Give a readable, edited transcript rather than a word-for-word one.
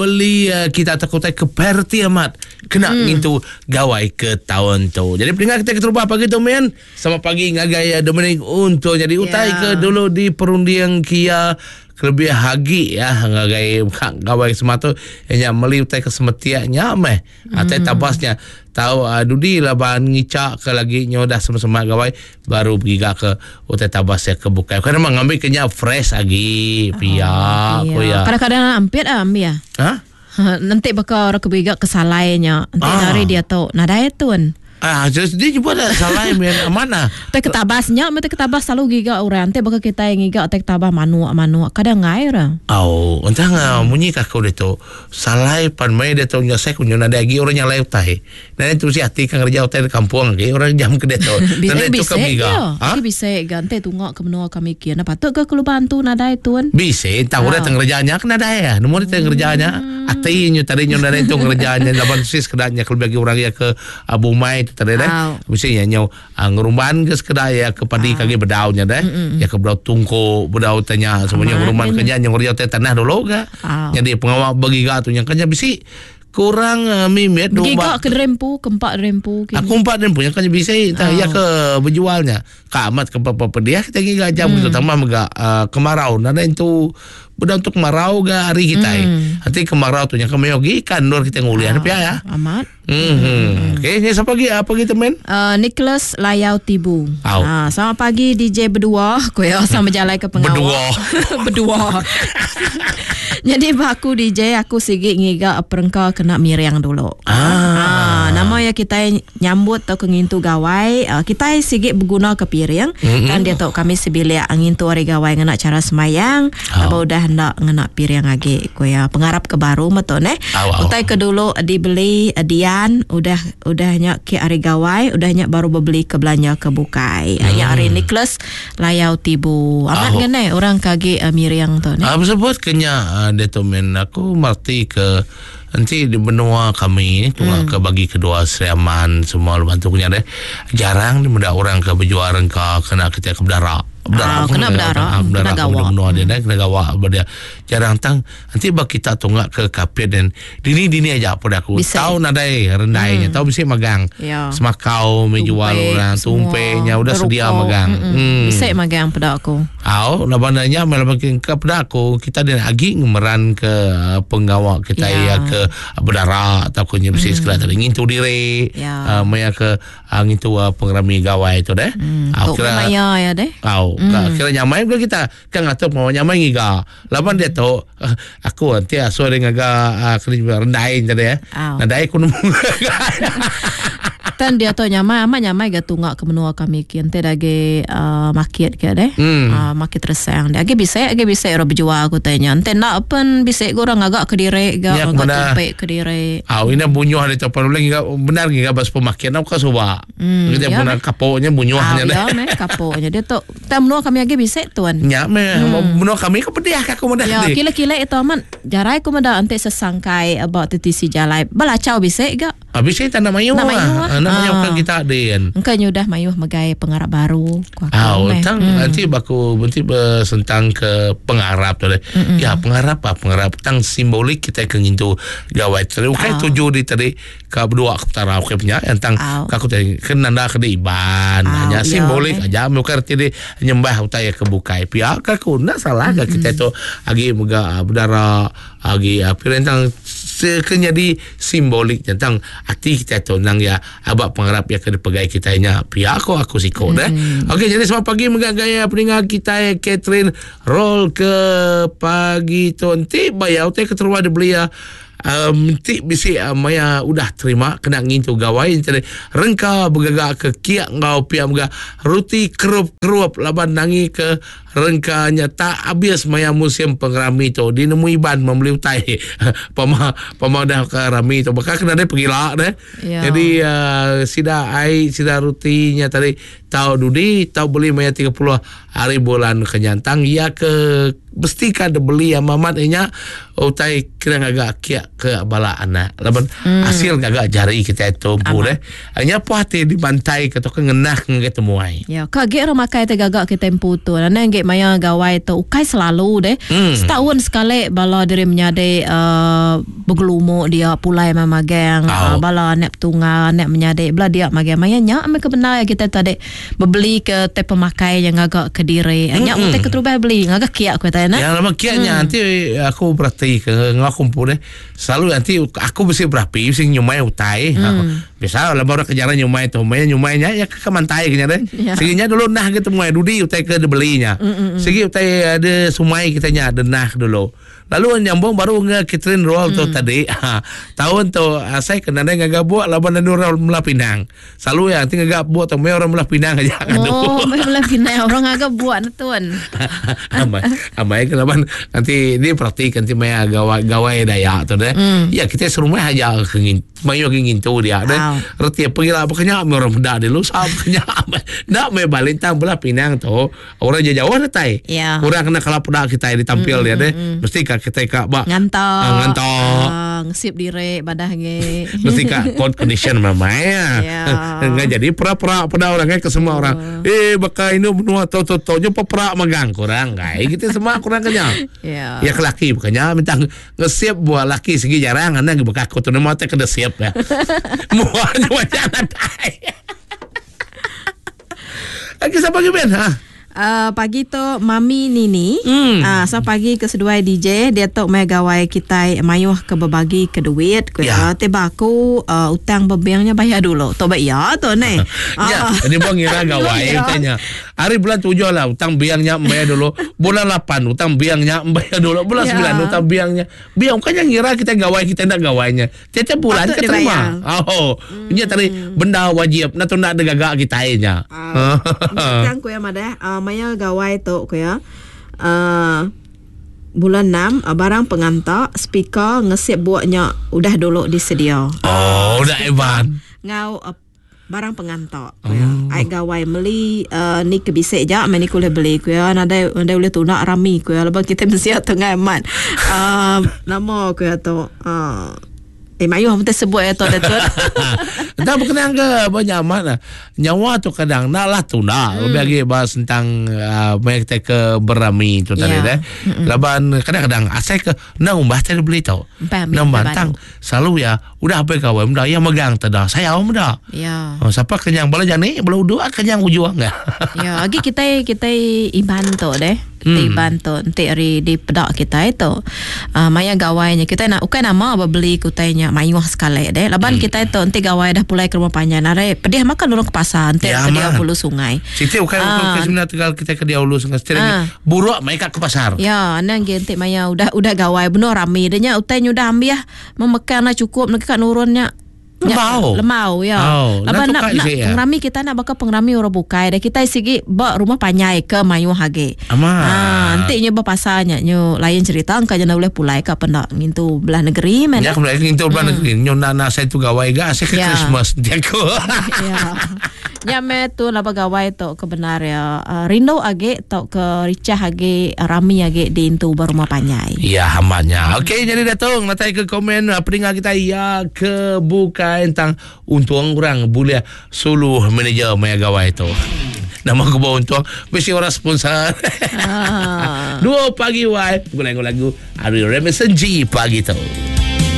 Beli kita tau utai ke priority amat kena mm. ngintu gawai ke taun tu. Jadi pendengar kita keterubah pagi tu men, selamat pagi ngagai Dominic untuk jadi utai yeah. ke dulu di perunding kia kelebih agi ya ngagai gawai semua tu nya meli utai ke semetiak nya meh. Mm. Atai tabasnya tau uh, dudi laban ngicak ke lagi nyo dah sama-sama gawai baru begiga ke utai tabas ya ke bukai. Bukan memang ngambil ke nya fresh agi pia oh, ko ya. Kadang-kadang ampit ah ambil. Ha? Nanti baka orang ke begiga ke salai nya. Nanti ah. dari dia tu nadai tun. Ah, jadi dia jumpa dah salai men mana? Tai ketabas nya, mesti ketabas selalu giga orang. Nanti baka kita yang ngiga tai ketabas manuk-manuk. Kadang ngai orang. Oh, entah munyi ka aku ditu. Salai pan mei ditu nya saya kunyu nadai agi orang nyalai utai. Nadai tu si ati ka ngereja utai di kampung agi orang jam ke diatu. Nadai tu ka miga. Ha? Bisi ga enti tunga ke menua kami kin. Patut ga ke lubang antu nadai tun. Bisi tang orang tang ngereja nya ke nadai ah. Nemu dia ngereja nya. Ati nyu tadi nyu nadai tu ngereja nya laban sis sekeda nya kelebih agi orang iya ke bumai tu tadi deh. Bisi nya nyu ngerumban ke sekeda iya ke padi ke agi bedau nya deh. Iya ke bedau tungku bedau utai nya semua nya ngerumban ke nya nyu ngereja utai tanah dulu ga. Nyadi pengawa begiga tu nya kan nya bisi. Kurang mimit Begiga ke derempu, ke empa derempu kini. Aku empa derempu nya kan bisi tah iya ke bejual nya. Ka amat ke papa pediah kita ngiga jam mm. tambah mega uh, kemarau nadai entu bedau tu kemarau ga hari kitai. Mm. Ati kemarau tu nya ke maioh gi ikan endur kita ngulih uh, pia ya. Amat. Hmm. Mm. Okey, ni siapa lagi? Apa kita men? Nicholas Layau Tibu. Ha, selamat pagi DJ berdua. Ku ya sama berjalai ke pengawa. Berdua. berdua. Nyadi ba aku DJ aku sigi ngiga perengka kena miring dulu. Ah. Ah, nama ya kitai nyambut tauka ngintu gawai, ah, kitai sigi beguna ke piring. Mm-hmm. Tang diatu kami sebilik ngintu hari gawai ngena cara semayang, Oh. aba udah enda ngena piring agi ku ya. Pengarap ke baru meh tu neh. Au, au. Utai ke dulu dibeli dian udah udah nya ke hari gawai, udah nya baru bebeli ke belanja ke bukai. Mm. Nya hari Nicholas Layau Tibu. Amat Au. ngene orang ke agi uh, miring tu ni. Ah, sebut ke nya ah, dia tu men aku merti ke enti di benua kami ni tunga ke bagi kedua Sri Aman semua lepas tu nya deh jarang di meda orang ke bejual rengka kena kita ke bedara. Ah, pun kena bedara, ah, kena bedara ke gawa. menua dia deh kena gawa ba dia. Jarang tang enti ba kita tunga ke Kapit dan dini-dini aja peda aku. Bisi. Tau nadai rendai nya tau bisi magang. Ya. Semakau meh jual orang semua. tumpe nya udah sedia Rukuk. magang. Mm-mm. Hmm. Bisi magang peda aku. Au laban nya meh laban ke ke peda aku kita dia agi ngemeran ke pengawa kita Ya. ya ke bedara atau ke nya bisi sekali tadi ngintu diri Ya. uh, maya ke uh, ngintu uh, pengerami gawai tu deh. Hmm. Au Tu maya ya deh. Au, mm. kira nyamai ke kita kan ngatur pengawa nyamai ngiga. Laban dia tu aku nanti asuh dia ngaga uh, kena rendai tadi eh. Au. Nadai aku nemu. Tan dia tu nyamai amat nyamai ga tunga ke menua kami kin ti agi uh, market ke deh. Hmm. Uh, market resang dia. Agi bisi agi bisi orang berjual ku tanya. Ente nak pen bisi ga orang ngaga ke diri ga Ya, ngaga kemana? tumpek ke diri. Au ini bunyuh dia tu perlu lagi benar ngiga ba supermarket nak ka suba. Kita ya benar meh. kapoknya bunyuhnya Ah, deh. ya meh kapoknya dia tu. Tang menua kami agi bisi tuan. Nya meh menua kami ke pedih ka aku madah Ya, ni. kila-kila itu amat jarai ku meda enti sesangkai ba tisi jalai. Belacau bisi ga. Ah, bisi tak nak mayuh Nak mayuh ah. ah. Nak mayuh Ah. kan kita din. Engka nyudah mayuh megai pengarap baru ku aku Ah, meh. tang nanti baku nanti sentang ke pengarap tu deh. Ya, pengarap ah pengarap tang simbolik kita ke ngintu gawai tu. Ukai Ah. tuju di tadi ka berdua ke petara ukai punya yang tang Au. ka aku tadi kena nanda ke di Iban Au, hanya ya, simbolik meh. aja bukan arti di nyembah utai ke bukai. Pia ka aku nak salah ka kita tu agi mega ah, bedara agi ah, pirentang ke jadi simbolik tentang ati kita tu nang ya abak pengarap ya ke dipegai kita nya pia aku aku siko deh. Okey jadi selamat pagi mega gaya pendengar kita Catherine roll ke pagi tu enti bayar utai keterua dibeli ya ti bisi uh, maya udah terima kena ngintu gawai jadi rengka bergagak ke kiak ngau pia mega ruti kerup-kerup laban nangi ke rengkanya tak habis maya musim pengerami tu di nemu iban membeli utai pama pama dah ke rami tu bakal kena dia pergi lah deh Ya. jadi uh, sida ai sida rutinya tadi. tau dudi tau beli maya 30 hari bulan kenyantang iya ke mesti ka dibeli amat amat inya utai kira ngaga kiak ke bala anak laban hmm. hasil ngaga jari kita itu empu deh nya puas hati dibantai ke tu ke ngenah ngagai temuai ya ka ge orang makai te gaga kita empu tu nang ge maya gawai tu ukai selalu deh hmm. setahun sekali bala diri menyadi uh, begelumu dia pulai mai magang oh. uh, bala anak petunggal anak menyadi bala dia magang maya nya meh ke bendar kita tadi bebeli ke tai pemakai yang ngaga ke diri. Mm-hmm. Nya utai keterubah beli ngaga kiak ku tai nah. Ya lama kiak nya mm. nanti aku berarti ke ngau aku empu deh. Selalu nanti aku mesti berapi mesti nyumai utai. Mm. Biasa lama orang kejaran nyumai tu, maya nyumai nya ya ke mantai ke nya deh. Yeah. Sigi nya dulu nah ke temuai dudi utai ke dibelinya. Mm-mm. Sigi utai ada sumai kita nya denah dulu. Lalu nyambung baru nge Catherine Roll tu tadi. Ha, tahun tu asai ke nadai ngaga buak laban anu orang Belah Pinang. Selalu ya nanti ngaga buak tu mai orang Belah Pinang aja ngadu. Oh, mai Belah Pinang orang ngaga buak ne tuan. Amai, amai ke laban nanti dia perhatikan nanti mai gawai gawai Dayak tu deh. Ya kita serumah aja ke ngin mayuh agi ngintu dia deh. Reti pegila pekenya mai orang peda dia lusa pekenya. Enda mai balik tang Belah Pinang tu. Orang je jauh datai. Ya. Orang kena kalau peda kita ditampil mm, dia deh. Mm. Mesti ka kita ka ba nganta. Uh, nganta. Ngesip dire badah nge. Mesti ka cold condition mamai ya. Ya. Enggak jadi pera-pera peda orang ke semua orang. Eh baka ini menua to to to nyo pera magang kurang gai kita semua kurang kenya. Ya. Ya ke laki bukannya minta ngesip buah laki segi jarang anda baka aku tu nama te kena siap ya. Muanya macam nadai. Lagi siapa lagi Ben? Ha? Pagi tu Mami Nini. So pagi ke seduai DJ dia tu mai gawai kitai mayuh ke bebagi ke duit ku ya. iya. Ti ba aku utang bebing nya bayar dulu. Tu ba iya tu neh. Ya, ini bang ngira gawai tanya. Hari bulan tujuh lah utang biang nya bayar dulu. Bulan lapan utang biang nya bayar dulu. Bulan ya. sembilan utang biang nya. Biang bukannya ngira kita gawai kita nak gawainya. Tiap-tiap bulan Patut ke terima. dibayar. Oh, nya tadi benda wajib nak tu nak digaga kitai nya. Ah, Tang ku iya madah maya gawai tu ku iya ah, bulan 6 barang penganta speaker ngesip buk nya udah dulu disedia. Oh, udah Evan. Ngau Barang penganta ku iya. Ai gawai meli uhh ni ke bisi ja meh ni ke ulih beli ku iya nadai nadai ulih tuna rami ku iya laban kitai mensia tu enggai amat uhh nama ku iya tu uhh eh mayuh mesti sebut iya tu dah tu. Enda bekenang ke ba nya amat lah. Nyawa tu kadang enda lah tunda lebih agi ba sentang uhh meh kitai ke berami tu tadi deh. Laban kadang-kadang asai ke enda umbah tai beli tu. Enda umbah tang selalu iya Udah apai gawai meda iya megang teda sayau meda. Ya. Oh, sapa kenyang bala jani bala udu ah kenyang ujung ga. Ya, agi kitai kitai Iban tu deh. Kitai Iban tu enti ari dipeda kitai tu uh, maya gawai nya kitai nak ukai nama bebeli ke utai nya mayuh sekali deh. Laban kitai tu enti gawai dah pulai ke rumah panjai narai pedih makan nulung ke pasar enti Ya, ke dia amat. ulu sungai. Siti ukai ukai ukai semina tegal kitai ke dia ulu sungai siti lagi buruk mai ka ke pasar. Ya, anang ge enti maya udah udah gawai benung rami deh nya utai nya udah ambih Memekang enda cukup ne ka nurun nya. Nya Lembau. lembau ya. Oh, Laban nak nak tukar nak isi ya. pengerami kita nak baka pengerami orang bukai dah kitai sigi ba rumah panjai ke mayuh agi. Amat. Ha enti nya ba pasar nya nyu lain cerita engka nya enda ulih pulai ka penda ngintu belah negeri meh Nya ne. aku meda ngintu belah negeri. Nyu enda nak asai tu gawai ga asai ke Ya. Christmas enti aku. Ya. Nya meh tu laban gawai tu ke bendar iya rindu agi tauka richah agi rami agi diintu ba rumah panjai. Ya amat nya. Okey jadi datung datai ke komen peninga kita iya ke bukai tentang untung orang bulih sulu manager maya gawai tu. Nama aku bawa untung mesti orang sponsor. Ah. Dua pagi wai lagu lagu Ari Remison G pagi tu.